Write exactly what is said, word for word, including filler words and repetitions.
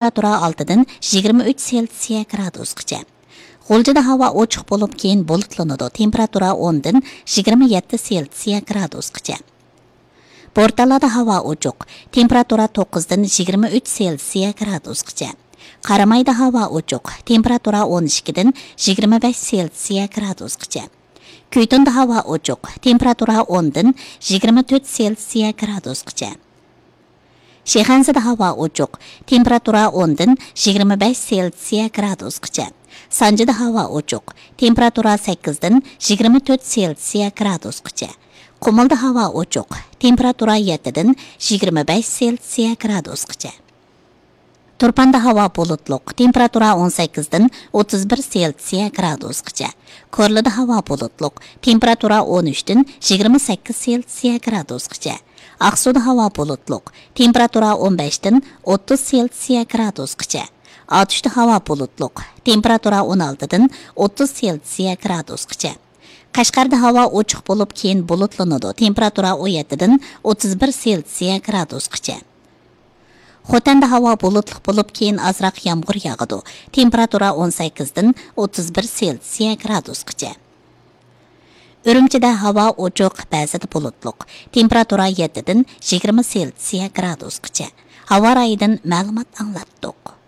تېمپېراتۇرا ئالتىدىن يىگىرمە ئۈچ سېلسىيە گرادۇسقىچە. غۇلجىدا ھاۋا ئوچۇق بولۇپ، كېيىن بۇلۇتلىنىدۇ، تېمپېراتۇرا ئوندىن يىگىرمە يەتتە سېلسىيە گرادۇسقىچە. بورتالادا ھاۋا ئوچۇق، تېمپېراتۇرا توققۇزدىن يىگىرمە ئۈچ سېلسىيە گرادۇسقىچە. قارامايدا ھاۋا ئوچۇق، تېمپېراتۇرا ئون ئىككىدىن يىگىرمە بەش سېلسىيە گرادۇسقىچە. كۈيتۇندا ھاۋا ئوچۇق، تېمپېراتۇرا ئوندىن يىگىرمە تۆت سېلسىيە گرادۇسقىچە. شىخەنزىدە ھاۋا ئوچۇق، تېمپېراتۇرا ئوندىن يىگىرمە بەش سېلسىيە گرادۇسقىچە. سانجىدا ھاۋا ئوچۇق، تېمپېراتۇرا سەككىزدىن يىگىرمە تۆت سېلسىيە گرادۇسقىچە. قۇمۇلدا ھاۋا ئوچۇق، تېمپېراتۇرا يەتتىدىن يىگىرمە بەش سېلسىيە گرادۇسقىچە. تۇرپاندا ھاۋا بۇلۇتلۇق، تېمپېراتۇرا ئون سەككىزدىن ئوتتۇز بىر سېلسىيە گرادۇسقىچە. كورلىدا ھاۋا بۇلۇتلۇق، تېمپېراتۇرا ئون ئۈچتىن يىگىرمە سەككىز سېلسىيە گرادۇسقىچە. ئاقسۇدا ھاۋا بۇلۇتلۇق، تېمپېراتۇرا ئون بەشتىن ئوتتۇز سېلسىيە گرادۇسقىچە. ئاتۇشتا ھاۋا بۇلۇتلۇق، تېمپېراتۇرا ئون ئالتىدىن ئوتتۇز سېلسىيە گرادۇسقىچە. قەشقەردە ھاۋا ئوچۇق بولۇپ، كېيىن بۇلۇتلىنىدۇ، تېمپېراتۇرا ئون يەتتىدىن ئوتتۇز بىر سېلسىيە گرادۇسقىچە. خوتەندە ھاۋا بۇلۇتلۇق بولۇپ، كېيىن ئازراق يامغۇر ياغىدۇ، تېمپېراتۇرا ئون سەككىزدىن ئوتتۇز بىر سېلسىيە گرادۇسقىچە. ئۈرۈمچىدە ھاۋا ئوچۇق، بەزىدە بۇلۇتلۇق، تېمپېراتۇرا يەتتىدىن يىگىرمە سېلسىيە گرادۇسقىچە. ھاۋا رايىدىن مەلۇمات ئاڭلاتتۇق.